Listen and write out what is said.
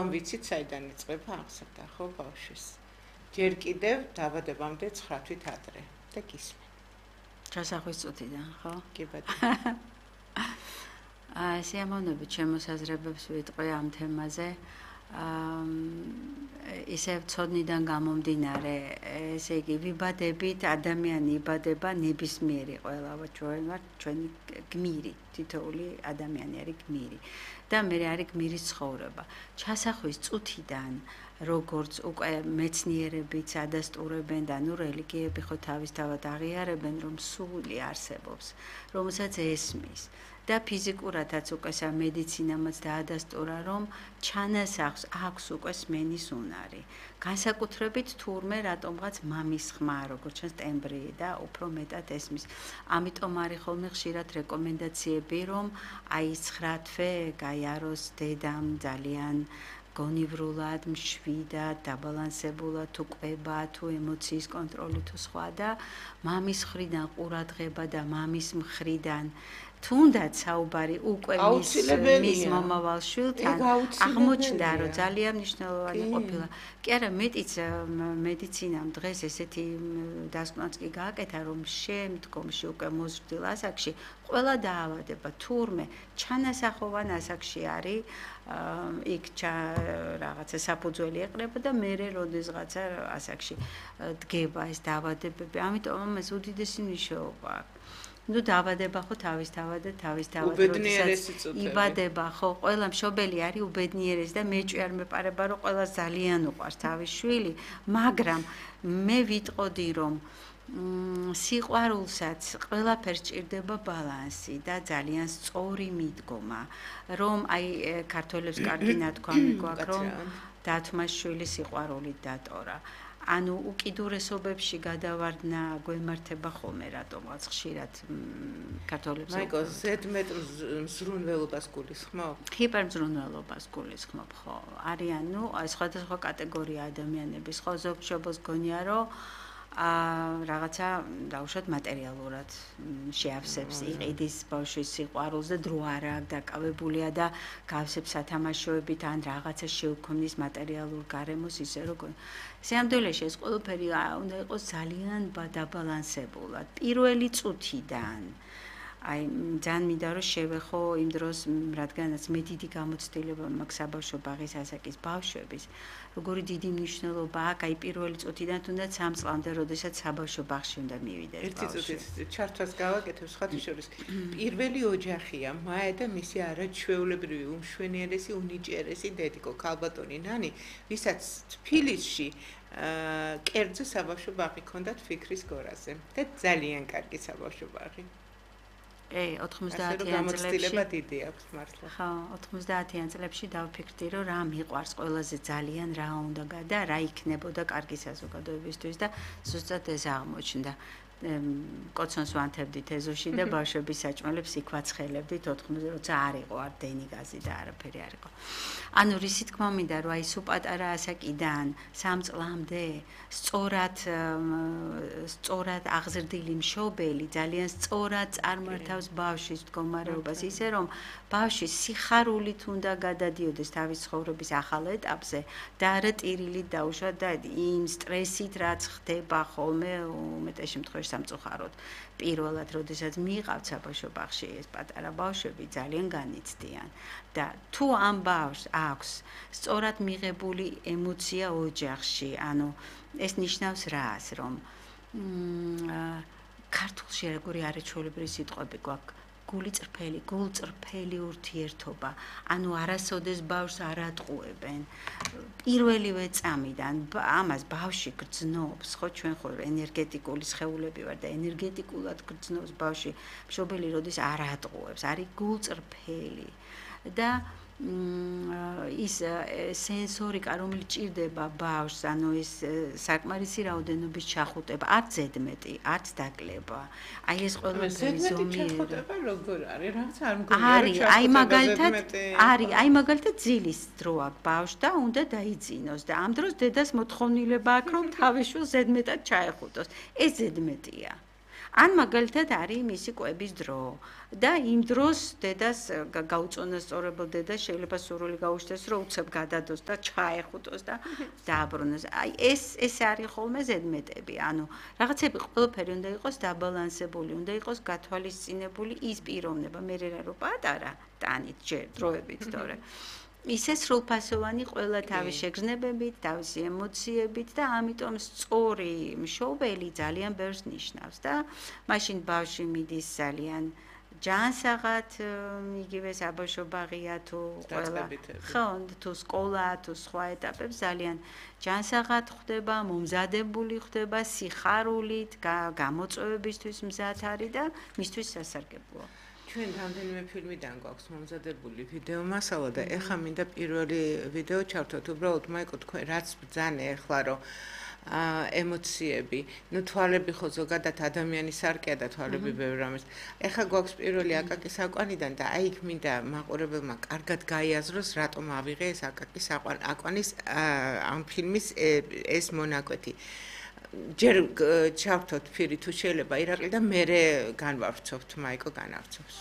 რომ ვიცით, საიდან იწყება აღზრდა, ხო, ბავშვის. ჯერ კიდევ დაბადებამდე 9 თვით ადრე და გისმენ. ჩასახვის წუთიდან, ხო? კი ბატონო. სიამოვნებით შემოსაზრებებს ვიტყვი ამ თემაზე. ისევ ცოდნიდან გამომდინარე, ესე იგი, ვიბადებით, ადამიანი იბადება ნებისმიერი ყველა ჩვენ ვართ, ჩვენი გმირი, თითოეული ადამიანი არის გმირი. და მე არის გმირის ცხოვრება. ჩასახვის წუთიდან, როგორც უკვე მეცნიერებიც ადასტურებენ და ნუ რელიგიები ხო თავისთავად აღიარებენ, რომ სული არსებობს, რომელსაც ესმის. და ფიზიკურადაც უკვე სამედიცინამაც დაადასტურა, რომ ჩანასახს აქვს უკვე სმენის უნარი. განსაკუთრებით თურმე რატომღაც მამის ხმა, როგორც ჩანს ტემბრი და უფრო მეტად ესმის. ამიტომ არის ხოლმე ხშირად რეკომენდაციები, რომ აი 9 თვე გაიაროს დედამ ძალიან გონივრულად, მშვიდად, დაბალანსებულად, თუ ყვება, თუ ემოციის კონტროლი, თუ სხვა და მამის მხრიდან ყურადღება და მამის მხრიდან თუნდაც საუბარი უკვე მის მომავალ შვილთან აღმოჩნდა, რომ ძალიან მნიშვნელოვანი ყოფილა. კი არა, მეტიც მედიცინამ დღეს ესეთი დასკვნაც კი გააკეთა, რომ შემდგომში უკვე მოზრდილ ასაკში ყველა დაავადება თურმე ჩანასახოვან ასაკში არის, იქ რაღაცა საფუძველი ეყრება და მერე როდესღაცა ასაკში დგება ეს დაავადებები. ამიტომ ამას უდიდესი მნიშვნელობა აქვს. ნუ დაავადება ხო თავისთავად როდესაც იბადება ხო ყველა მშობელი არის უბედნიერესი და მეჭვი არ მეპარება რომ ყველა ძალიან უყვარს თავის შვილი, მაგრამ მე ვიტყოდი რომ სიყვარულსაც ყველაფერს ჭირდება ბალანსი და ძალიან სწორი მიდგომა, რომ აი ქართველებს კარგი ნათქვამი გვაქვს, რომ დათმას შვილი სიყვარულით დატორა. ანუ უკიდურესობებში გადავარდნა გვემართება ხოლმე რატომღაც ხშირად ქართველებს. მაიკო, ზედმეტ მზრუნველობას გულისხმობ? ჰიპერმზრუნველობას გულისხმობ, ხო. არიან, ნუ, სხვადასხვა კატეგორია ადამიანების, ხო, ზოგ მშობელს გონია, რომ რაღაცა დაუშვათ მატერიალურად შეავსებს იყიდის ბავშვის სიყვარულს და დრო არ აქვს დაკავებულია და გავსებს სათამაშოებით ან რაღაცა შეუქმნის მატერიალურ გარემოს ისე რომ სიამდვილეში ეს ყველაფერი უნდა იყოს ძალიან დაბალანსებულად პირველი წუთიდან აი ძალიან მინდა რომ შევეხო იმ დროს რადგანაც მე დიდი გამოცდილება მაქვს საბავშვო ბაღის ასაკის ბავშვების როგორი დიდი მნიშვნელობა აქვს აი პირველი წუთიდან თუნდაც 3 წლამდე როდესაც საბავშვო ბაღში უნდა მივიდეს ერთი წუთით ჩართვას გავაკეთებ სხვათა შორის პირველი ოჯახია მაე და მისი არაჩვეულებრივი უმშვენიერესი უნიჭიერესი დედიკო ქალბატონი ნანი ვისაც თბილისში კერძო საბავშვო ბაღი ჰქონდათ ფიქრის გორაზე და ძალიან კარგი საბავშვო ბაღი 90-იან წლებში ხო 90-იან წლებში დავფიქრდი რომ რა მიყვარს ყველაზე ძალიან რა უნდა და რა იქნებოდა კარგი საზოგადოებისთვის და ზუსტად ეს აღმოჩნდა კოცონს ვანთებდით ეზოში და ბავშვების საჭმელებს იქ ვაცხელებდით 90 როცა არ იყო არ დენი გაზი და არაფერი არ იყო ანუ რისი თქმა მინდა რომ აი სულ პატარა ასაკიდან 3 წლამდე სწორად აღზრდილი მშობელი ძალიან სწორად წარმართავს ბავშვის მდგომარეობას ისე რომ ბავშვი სიხარულით უნდა გადადიოდეს თავის ცხოვრების ახალ ეტაპზე და არა ტირილით დაუშვა და იმ სტრესით რაც ხდება ხოლმე უმეტეს შემთხვევაში სამწუხაროდ პირველად როდესაც მიიღავთ საბავშვო ბაღში ეს პატარა ბავშვები ძალიან განიცდიან და თუ ამ ბავშვს აქვს სწორად მიღებული ემოცია ოჯახში ანუ ეს ნიშნავს რას რომ ქართულში როგორი არაჩვეულებრივი სიტყვები გვაქვს გულწრფელი ურთიერთობა ანუ არასოდეს ბავშვს არ ატყუებენ პირველივე წამიდან ამას ბავშვი გრძნობს ხო ჩვენ ხო ენერგეტიკული სხეულები ვარ და ენერგეტიკულად გრძნობს ბავშვი მშობელი როდის არ ატყუებს არის გულწრფელი და ის სენსორიკა რომელიც ჭირდება ბავშვს ანუ ეს საკმარისი რაოდენობის ჩახუტება არც ზედმეტი არც დაკლება აი ეს ყველაფერი ზომიერება როგორ არის რაღაც არ მგონია არის აი მაგალითად ძილის დრო აქვს ბავშვს და უნდა დაიძინოს და ამ დროს დედას მოთხოვნილება აქვს რომ თავის შვილს ზედმეტად ჩაეხუტოს ეს ზედმეტია ან მაგალითად არის მისი კვების დრო და იმ დროს დედას გაუწონასწორებელ დედას შეიძლება სურვილი გაუჩნდეს რომ უცებ გადადოს და ჩაეხუტოს და დააბრუნოს. აი ეს არის ხოლმე ზედმეტები. ანუ რაღაცები ყველაფერი უნდა იყოს დაბალანსებული, უნდა იყოს გათვალისწინებული ის პიროვნება, მე რა პატარა ტანით ჯერ დროებით, თორე ისე სრულფასოვანი ყველა თავის შეგრძნებებით, თავისი ემოციებით და ამიტომ სწორი მშობელი ძალიან ბევრს ნიშნავს და მაშინ ბავშვი მიდის ძალიან ჯანსაღად, იგივე საბავშვო ბაღია თუ ყველა ხო, თუ სკოლა, თუ სხვა ეტაპებს ძალიან ჯანსაღად ხვდება, მომზადებული ხვდება, სიხარულით, გამოწვევებისთვის მზად არის და მისთვის სასარგებლოა. ჩვენ რამდენიმე ფილმიდან გვაქვს მომზადებული ვიდეო მასალა და ეხლა მინდა პირველი ვიდეო ჩავთოთ. უბრალოდ მაიკო თქვენ რაც ბრძანე ეხლა რომ ემოციები, ну თვალები ხო ზოგადად ადამიანის სარკეა და თვალები ბევრ რამეს. ეხლა გვაქვს პირველი აკაკის აკვანიდან და აი იქ მინდა მაყურებელმა კარგად გაიაზროს რატომ ავიღე ეს აკაკის აკვანის ამ ფილმის ეს მონაკვეთი. ჯერ ჩავთოთ ფირი თუ შეიძლება ირაკლი და მერე განვავრცობთ მაიკო განავრცობს.